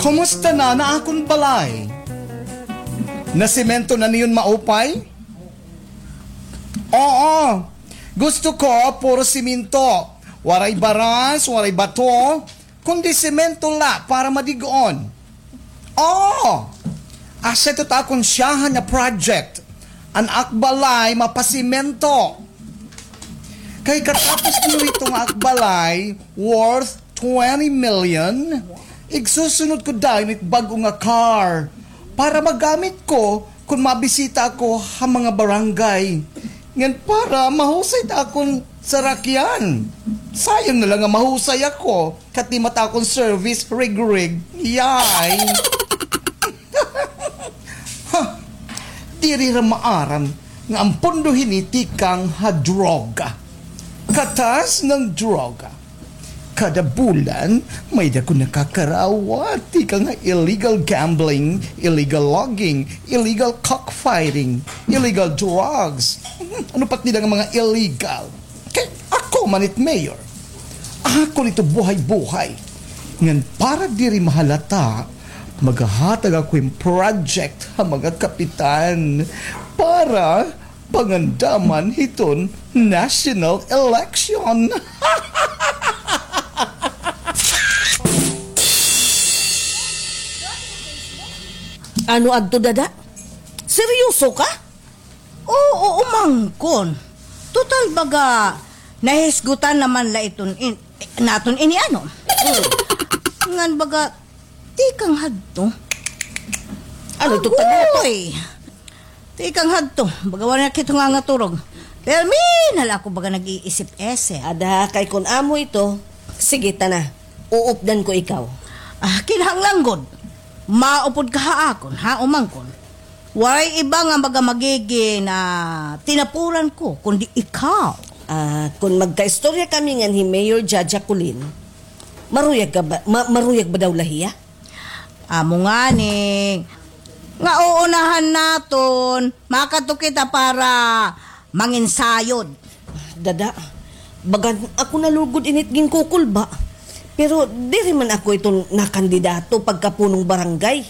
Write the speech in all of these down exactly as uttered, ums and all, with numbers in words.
Kumusta na an akon balay? Nasemento na niyon maupay? Oo. Gusto ko puro semento. Waray baras, waray bato, kundi semento la para madig-on. Oo. Asya ito it akon syahan nga project. An ak balay mapasemento. Kay katapos niyo ito nga ak balay worth twenty million, igsusunod ko dayon it bag-o nga car para magamit ko kon mabisita ako ha mga barangay. Ngan para mahusay it akon sarakyan. Sayang na la nga mahusay ako, katima it akon service rigrig. Yay! Ha! Diri ra maaram nga an pondo hini tikang ha droga. Katas ng droga. Kada bulan, may-ada ko nakakarawat tikang ha illegal gambling, illegal logging, illegal cockfighting, illegal drugs. Hmm, ano pa it dida nga mga illegal? Kay ako man it mayor. Ako nito buhay-buhay. Ngan para diri mahalata, maghahatag ako hin project ha mga kapitan para pangandaman hiton national election. Ano adto, Dada? Seryoso ka? Oo, umangkon. Total baga, nahisgutan naman la iton in, naton ini ano. Ngan baga, tikang hadto. Ano ito, Agoy! Tikang hadto, baga wala na kito nga nga turog. Pero minal ako baga nag-iisip-isip. Ada, kay kun amo ito, sige, tana. Uupdan ko ikaw. Ah, kinahanglan gud. Maupod ka ha akon, ha, umangkon. Waray iba nga maga magigin, ah, tinapuran ko, kundi ikaw. Ah, kun magkaistorya kami ngan hi Mayor Jaja Kulin, maruyag ka ba, ma-, maruyag ba daw la hiya? Amo ngani, nga uunahan naton, makadto kita para manginsayod. Dada, bagan ako nalugod init ginkukulba. Pero diri man ako iton nakandidato pagkapunong barangay.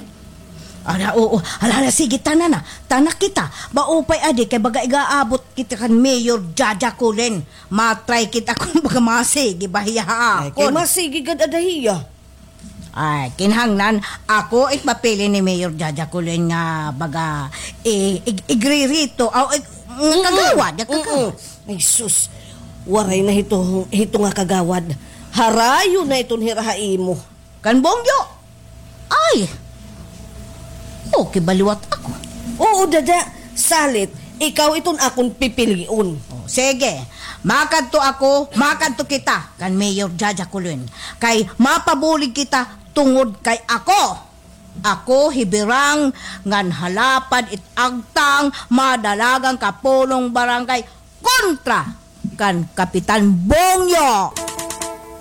Ala, oo. Ala, ala, sige, tana na. Tana kita. Maupay adi kay baga igaabot kita kan Mayor Jaja Kulin. Matry kita kun baga masigi ba hiya ha akon. Ay, kay masigi gad ada hiya. Ay, kinahanglan, ako it mapili ni Mayor Jaja Kulin nga baga, i-, ig-, igririto, aw, ig-, nga kagawad, nga kagawad. Ay, sus. Waray na hito, hito nga kagawad. Harayo na iton hira ha imo. Kan Bongyo? Ay! Okay ba liwat ako? Oo, Dada. Salit, ikaw iton akon pipilion. O, sige. Makadto ako, makadto kita kan Mayor Jaja Kulin. Kay mapabulig kita tungod kay ako. Ako hibirang ngan halapad it agtang madalagan ka punong barangay kontra kan Kapitan Bongyo.